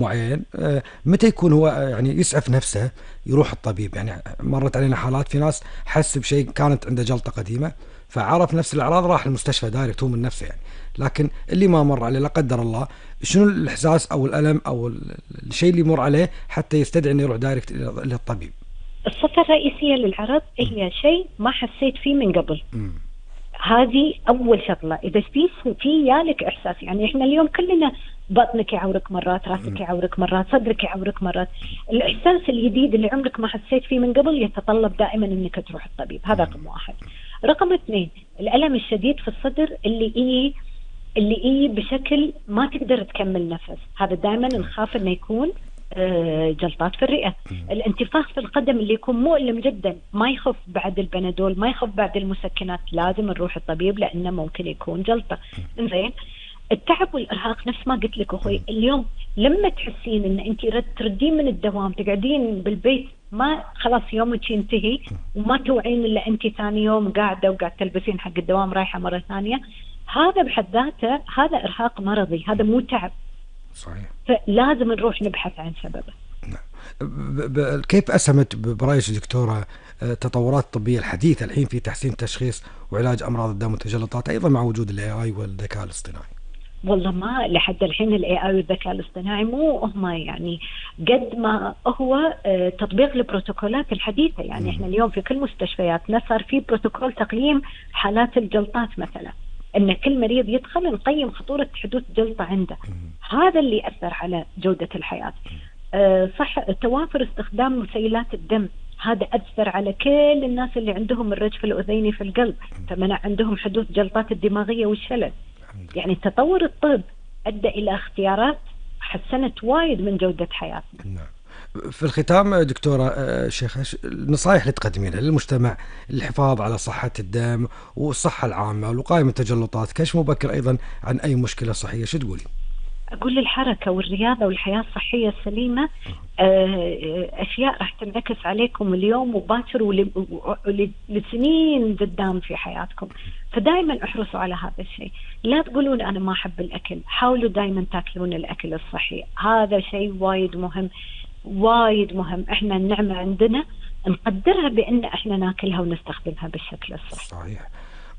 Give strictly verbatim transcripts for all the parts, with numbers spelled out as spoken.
معين آه، متى يكون هو آه، يعني يسعف نفسه يروح الطبيب؟ يعني مرت علينا حالات في ناس حس بشيء، كانت عنده جلطة قديمة فعرف نفس الأعراض راح المستشفى دايركت هو من نفسه يعني. لكن اللي ما مر عليه لا قدر الله، شنو الإحساس أو الألم أو ال- الشيء اللي يمر عليه حتى يستدعي إنه يروح دايركت إلى إلى الطبيب؟ الصفة الرئيسية للعرض هي شيء ما حسيت فيه من قبل. هذه أول شغلة. إذا في في يالك إحساس، يعني إحنا اليوم كلنا بطنك يعورك مرات، راسك يعورك مرات، صدرك يعورك مرات. الإحساس الجديد اللي عمرك ما حسيت فيه من قبل يتطلب دائما إنك تروح الطبيب. هذا رقم واحد. رقم اثنين، الألم الشديد في الصدر اللي إيه اللي إيه بشكل ما تقدر تكمل نفس. هذا دائما نخاف إنه يكون آه، جلطات في الرئة. الانتفاخ في القدم اللي يكون مؤلم جدا، ما يخف بعد البنادول، ما يخف بعد المسكنات، لازم نروح الطبيب لأنه ممكن يكون جلطة. إنزين، التعب والإرهاق نفس ما قلت لك أخوي اليوم، لما تحسين إن أنت تردين من الدوام تقعدين بالبيت، ما خلاص يومك ينتهي وما توعين إلا أنت ثاني يوم قاعدة وقاعد تلبسين حق الدوام رايحة مرة ثانية، هذا بحد ذاته هذا إرهاق مرضي، هذا مو تعب. صحيح. فلازم نروح نبحث عن سببه. نعم. ب- ب- كيف أسهمت ب- برأيك دكتورة آه، التطورات الطبية الحديثة الحين في تحسين تشخيص وعلاج أمراض الدم والتجلطات، أيضا مع وجود ال إيه آي والذكاء الاصطناعي؟ والله ما لحد الحين ال إيه آي والذكاء الاصطناعي مو هم يعني قد ما هو آه، تطبيق البروتوكولات الحديثة. يعني مم. احنا اليوم في كل مستشفياتنا صار في بروتوكول تقييم حالات الجلطات مثلا، ان كل مريض يدخل نقيم خطورة حدوث جلطة عنده. هذا اللي أثر على جودة الحياة. آه، صح، توافر استخدام مسيلات الدم، هذا أثر على كل الناس اللي عندهم الرجف الأذيني في القلب، فمنع عندهم حدوث جلطات الدماغية والشلل. يعني تطور الطب أدى إلى اختيارات حسنت وايد من جودة حياتنا. نعم. في الختام دكتورة آه، شيخة، ش- النصائح اللي تقدمينها للمجتمع للحفاظ على صحة الدم والصحة العامة والوقاية من التجلطات، كشف مبكر أيضا عن أي مشكلة صحية، شو تقولي؟ أقول الحركة والرياضة والحياة الصحية السليمة آه، أشياء راح تنعكس عليكم اليوم وباكر ولسنين قدام في حياتكم. فدائما احرصوا على هذا الشيء. لا تقولون أنا ما أحب الأكل، حاولوا دائما تاكلون الأكل الصحي. هذا شيء وايد مهم، وايد مهم. احنا النعمة عندنا نقدرها بأن احنا ناكلها ونستخدمها بالشكل الصحي. صحيح.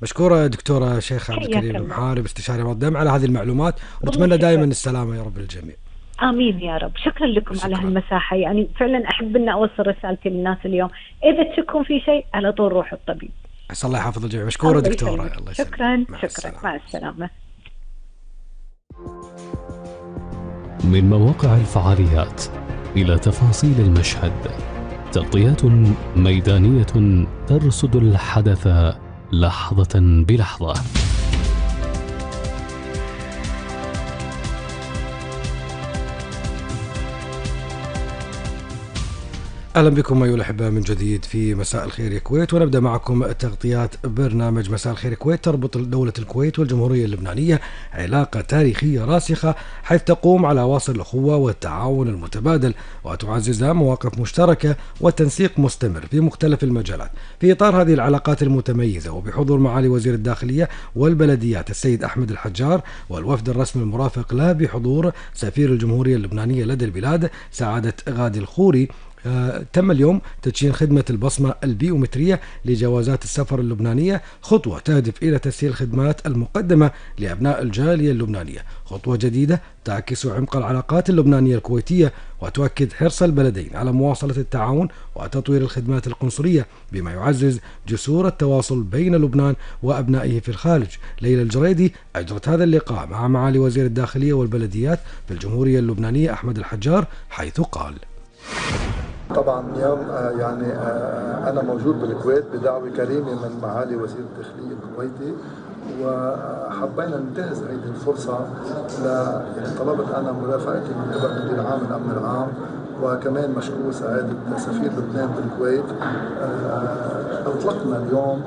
مشكورة دكتورة شيخ عبد حياك الكريم الله. المحارب استشاري أمراض الدم على هذه المعلومات، ونتمنى والله دائما شكرا. السلامة يا رب للجميع. آمين يا رب. شكرا لكم شكرا. على هالمساحة. يعني فعلا أحب أن أوصل رسالتي للناس اليوم، إذا تشكون في شيء على طول روحوا الطبيب. عسى الله يحفظ الجميع. مشكورة الله دكتورة. يسلمك. الله يسلمك. شكرا مع شكرا. السلامة. مع السلامة. من مواقع الفعاليات إلى تفاصيل المشهد، تغطيات ميدانية ترصد الحدث لحظة بلحظة. أهلا بكم أيها الأحبة من جديد في مساء الخير يا كويت، ونبدأ معكم تغطيات برنامج مساء الخير كويت. تربط دولة الكويت والجمهورية اللبنانية علاقة تاريخية راسخة، حيث تقوم على واصل الأخوة والتعاون المتبادل، وتعززها مواقف مشتركة وتنسيق مستمر في مختلف المجالات. في إطار هذه العلاقات المتميزة وبحضور معالي وزير الداخلية والبلديات السيد أحمد الحجار والوفد الرسمي المرافق له بحضور سفير الجمهورية اللبنانية لدى البلاد سعادة غادي الخوري، آه، تم اليوم تدشين خدمة البصمة البيومترية لجوازات السفر اللبنانية، خطوة تهدف إلى تسهيل الخدمات المقدمة لأبناء الجالية اللبنانية. خطوة جديدة تعكس عمق العلاقات اللبنانية الكويتية، وتؤكد حرص البلدين على مواصلة التعاون وتطوير الخدمات القنصلية، بما يعزز جسور التواصل بين لبنان وأبنائه في الخارج. ليلى الجريدي أجرت هذا اللقاء مع معالي وزير الداخلية والبلديات في الجمهورية اللبنانية أحمد الحجار، حيث قال: طبعا اليوم آه، يعني آه، أنا موجود بالكويت بدعوة كريمة من معالي وزير الداخلية الكويتي، وحبينا ننتهز هذه الفرصة ل يعني طلبت أنا مرافقتي من قبل مدير عام الأمن العام، وكمان مشكور سعادة سفير لبنان بالكويت. آه، أطلقنا اليوم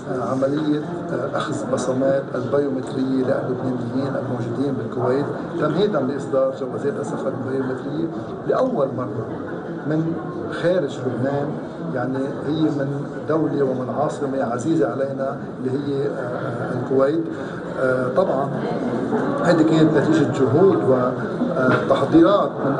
آه، عملية آه، أخذ بصمات البيومترية للبنانيين الموجودين بالكويت، تمهيدا لإصدار جوازات السفر البيومترية لأول مرة من خارج لبنان. يعني هي من دولة ومن عاصمة عزيزة علينا اللي هي آه، الكويت. آه، طبعا هذه كانت نتيجة جهود وتحضيرات من